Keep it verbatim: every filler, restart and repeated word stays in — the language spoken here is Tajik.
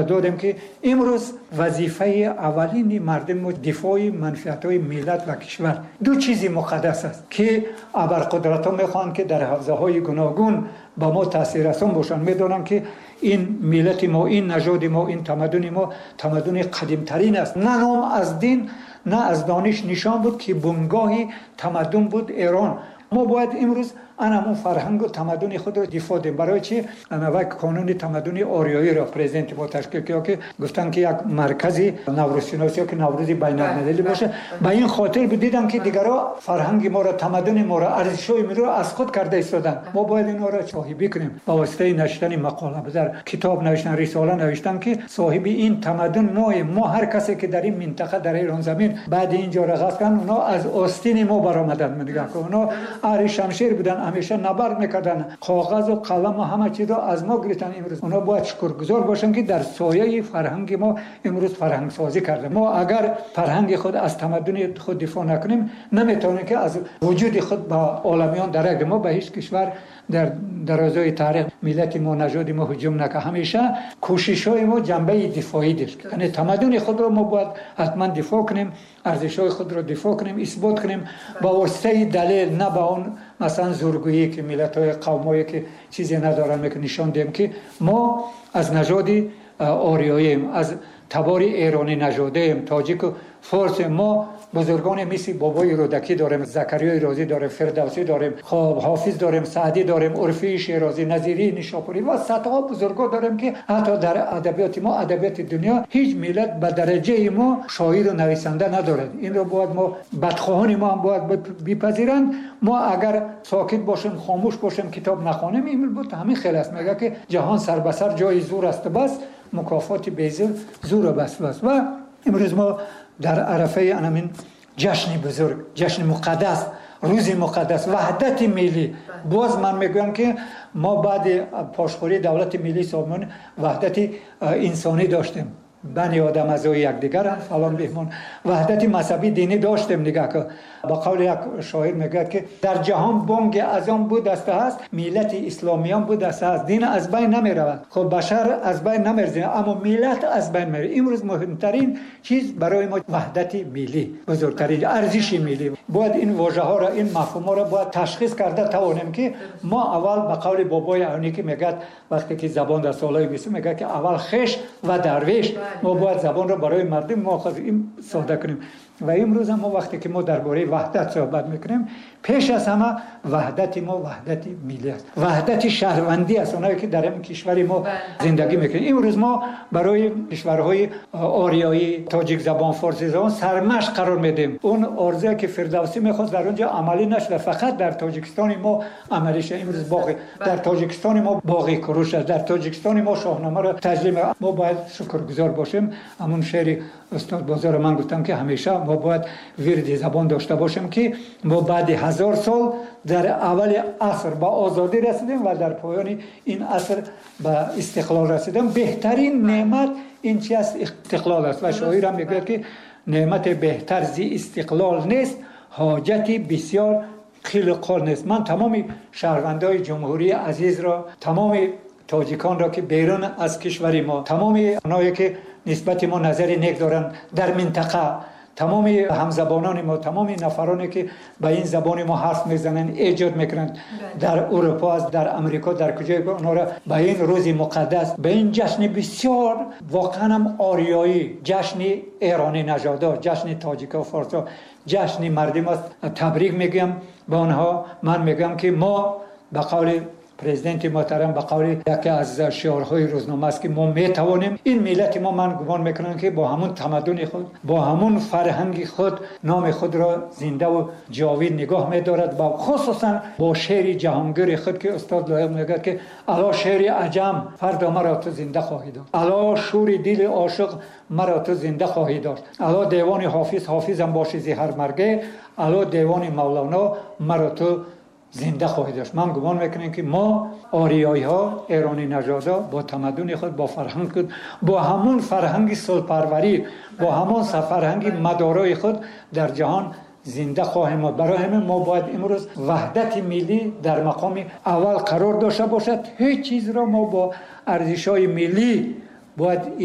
додем ки имрӯз вазифаи аввалини мардуми мо дифои манфиатҳои миллат ва кишвар. Ду чизи муқаддас аст, ки абарқудратҳо мехоҳанд, ки дар ҳавзаҳои гуногун ба мо таъсиррасон бошанд. Медонанд, ки ин миллати мо, ин нажоди мо, ин тамаддуни мо тамаддуни қадимтарин аст. На ном аз дин, на аз дониш нишон буд, ки бунгоҳи тамаддун буд Эрон. Мо бояд имрӯз ана ҳамон фарҳангу тамаддуни худро дифоъ диҳем. Барои чи ана вай қонуни тамаддуни ориёиро президенти мо ташкил кард, ки гуфтанд, ки як маркази наврӯзшиносӣ ё ки наврӯзи байналмилалӣ бошад. Ба ин хотир дидам, ки дигарҳо фарҳанги моро, тамаддуни моро, арзишҳои моро аз худ карда истоданд. Мо бояд инҳоро соҳибӣ кунем ба воситаи навиштани мақола, дар китоб навиштан, рисола навиштан, ки соҳиби ин тамаддун моем. Мо ҳар касе ки дар ин минтақа, дар Эронзамин баъди ин ҷоро ғасб карданд, онҳо аз остини мо баромаданд. Нигоҳ кун, онҳо аҳли шамшер буданд, ҳамеша набард мекарданд, коғазу қаламу ҳама чизро аз мо гирифтанд. Имрӯз онҳо бояд шукргузор бошанд, ки дар сояи фарҳанги мо имрӯз фарҳангсозӣ карданд. Мо агар фарҳанги худ аз тамаддуни худ дифоъ накунем, наметавонем, ки аз вуҷуди худ ба оламиён дарак. Мо ба ҳеҷ кишвар дар дарозои таърих миллати мо, нажоди мо ҳуҷум накард. Ҳамеша кӯшишҳои мо ҷанбаи дифоӣ дошт, яъне тамаддуни худро мо бояд ҳатман дифоъ кунем, арзишҳои худро дифоъ кунем, исбот кунем ба воситаи далел, на ба он масалан зӯргӯӣ, ки миллатҳои қавмое ки чизе надоранд мекунанд. Нишон диҳем, ки мо аз нажоди ориёием, аз табори эронӣ нажодаем, тоҷику форсем. Мо бузургоне мисли бобои Рӯдакӣ дорем, Закариёи Розӣ дорем, Фирдавсӣ дорем, хоб Ҳофиз дорем, Саъдӣ дорем, Урфии Шерозӣ, Назирии Нишопурӣ ва садҳо бузургон дорем, ки ҳатто дар адабиёти мо, адабиёти дунё, ҳеҷ миллат ба дараҷаи мо шоиру нависанда надорад. Инро бояд мо, бадхоҳони мо ҳам бояд бипазиранд. Мо агар сокит бошем, хомӯш бошем, китоб нахонем, ин буд ҳамин хел аст. Мегӯяд, ки ҷаҳон сар ба сар ҷои зур аст, бас мукофоти безур зуру бас бас. Ва имрӯз мо дар арафаи анамин ҷашни бузург, ҷашни муқаддас, рӯзи муқаддас, ваҳдати миллӣ. Боз ман мегӯям, ки мо баъди пошхӯрии давлати миллии Сомонӣ ваҳдати инсонӣ доштем, бани одам аъзои якдигаранд, фалон беҳмон, ваҳдати мазҳабӣ, динӣ доштем. Нигоҳ кун, ба қавли як шоир мегӯяд, ки дар ҷаҳон бонги азон будаста ҳаст, миллати исломиён будаста ҳаст. Дин аз байн намеравад, хуб, башар аз байн намерзад, аммо миллат аз байн меравад. Имрӯз муҳимтарин чиз барои мо ваҳдати миллӣ, бузургтарин арзиши миллӣ. Бояд ин вожаҳоро, ин мафҳумҳоро бояд ташхис карда тавонем, ки мо аввал, ба қавли бобои Айнӣ, ки мегӯяд, вақте ки забон дар солҳои бистум мегӯяд, ки аввал хеш ва дарвеш. Мо бояд забонро барои мардум мо ин сода кунем. Ва имрӯз мо вақте ки мо дар бораи ваҳдат суҳбат мекунем, пеш аз ҳама ваҳдати мо ваҳдати миллӣ аст, ваҳдати шаҳрвандӣ аст, онҳое ки дар ин кишвари мо зиндагӣ мекунем. Имрӯз мо барои кишварҳои ориёӣ, тоҷикзабон, форсизабон сармашқ қарор медиҳем. Он орзуе ки Фирдавсӣ мехост, дар он ҷо амалӣ нашуда, фақат дар Тоҷикистони мо амалӣ шуда. Имрӯз боғи дар Тоҷикистони мо боғи Куруш аст, дар Тоҷикистони мо Шоҳномаро таҷлил. Мо бояд шукргузор бошем. Ҳамун шеъри устод Бозорро ман гуфтам, ки ҳамеша мо бояд вирди забон дошта бошем, ки мо баъди ҳазор сол дар аввали аср ба озодӣ расидем ва дар поёни ин аср ба истиқлол расидем. Беҳтарин неъмат ин чи аст? Истиқлол аст. Ва шоирам мегӯяд, ки неъмати беҳтар зи истиқлол нест, ҳоҷати бисёр қилу қол нест. Ман тамоми шаҳрвандои ҷумҳурии азизро, тамоми тоҷиконро, ки берун аз кишвари мо, тамоми онҳое ки нисбати мо назари нек доранд дар минтақа, тамоми ҳамзабонони мо, тамоми нафароне ки ба ин забони мо ҳарф мезананд, эҷод мекунанд, дар Урупо аст, дар Амрико, дар куҷое, онҳоро ба ин рӯзи муқаддас, ба ин ҷашни бисёр воқеанам ориёӣ, ҷашни эронӣ нажодо, ҷашни тоҷико, форсо, ҷашни мардум аст, табрик мегӯям ба онҳо. Ман мегӯям, ки мо ба қавли президенти муҳтарам, ба қавли яке аз шиорҳои рӯзнома аст, ки мо метавонем. Ин миллати мо, ман гумон мекунам, ки бо ҳамун тамаддуни худ, бо ҳамун фарҳанги худ номи худро зиндаву ҷовид нигоҳ медорад ва хусусан бо шеъри ҷаҳонгири худ, ки устод Лоиқ мегӯяд, ки ало шеъри аҷам, фардо маро ту зинда хоҳӣ дошт, ало шӯри дили ошиқ, маро ту зинда хоҳӣ дошт, ало девони Ҳофиз, ҳофизам бошӣ зи ҳар марге, ало девони Мавлоно, маро ту зинда хоҳӣ дошт. Ман гумон мекунем, ки мо ориёиҳо, эронӣ нажодо, бо тамаддуни худ, бо фарҳанги худ, бо ҳамун фарҳанги сулҳпарварӣ, бо ҳамон фарҳанги мадорои худ дар ҷаҳон зинда хоҳем монд. Барои ҳамин мо бояд имрӯз ваҳдати миллӣ дар мақоми аввал қарор дошта бошад. Ҳеҷ чизро мо бо арзишҳои миллӣ бояд